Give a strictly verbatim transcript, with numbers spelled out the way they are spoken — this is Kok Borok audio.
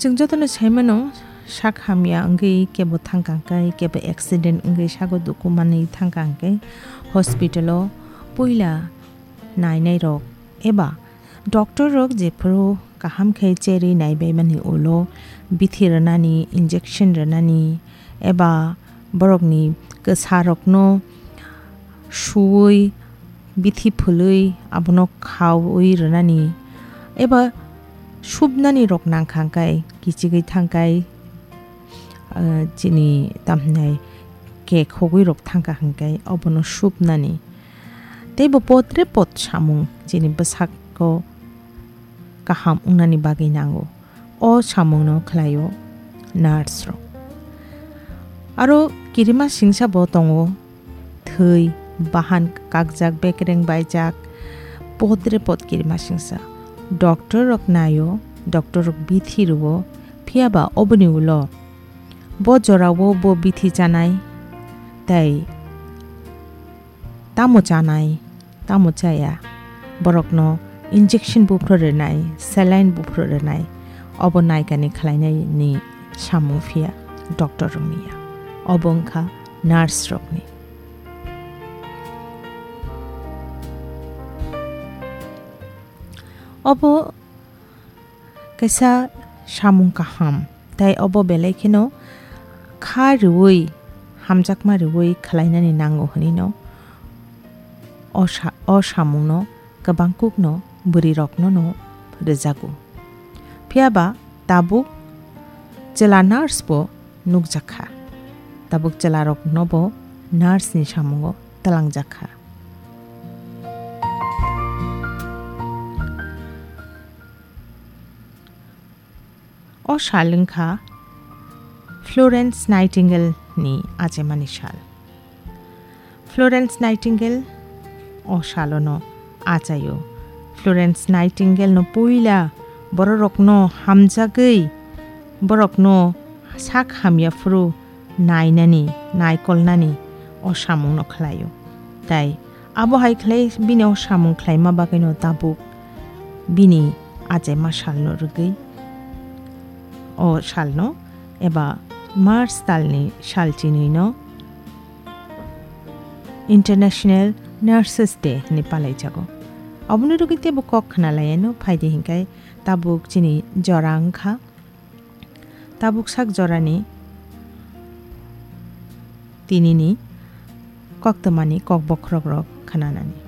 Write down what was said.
Chwng jotono sai mano, sak hamya wngwi kebo thangkha hwnkhe, kebo accident wngwi sago duku manwi thangkha hwnkhe, hospital-o puila nainairok eba doctor rok jephuru kaham khe cherwi naibaimani ulo bithi rwnani, injection rwnani eba borokni kwsarokno suwi bithi phulwi abono khaui rwnani eba subnani rok nangkha hwnkhe kichigwi thangkhai, ah, chini tamhinai kek hogwi rok thangkha hwnkhe obono subnani. Tei bo potre pot samung chini bwsako kaham wngnani bagwi nango. O samungno khlaio nurse rok. Aro kirima singsa bo tongo, thwi, bahan kakjak, bekereng baijak, potre pot kirima singsa. Doctor rok naio, doctor rok bithi rwo, phiya ba oboni ulo bo jorao bo bithi chanai, tei tamo chanai, tamo chaya, borokno injection buphuru rwnai, saline buphuru rwnai, obo naikani khlainaini samung phiya doctor rokni ya, obo wngkha nurse rokni. Obo kaisa samung kaham, tei obo belai kheno kha rwui, hamjakma rwui khlainani nango hwnwi no o sa-, o samungno kwbangkukno bwrwirokno no rwjago. Phiya ba tabuk chwla nurse bo nukjakha, tabuk chwlarokno bo nurse ni samungo twlangjakha. O sal wngkha Florence Nightingale ni achaimani sal. Florence Nightingale o salono achaio. Florence Nightingale no puila bororokno hamjagwi, borokno sak hamya phuru nainani, naikolnani o samungno khlaio. Tai abo hai khlai bini o samung khlaima bagwino tabuk bini achaima salno rwgwi o salno eba March talni sal chinwino International Nurses Day hwnwi palaijago. Oboni rwgwi teibo kok khna laiano phaidi hinkhai tabuk chini jora wngkha. Tabuk sak jorani tinini koktwmani kok bokhorokrok khnanani.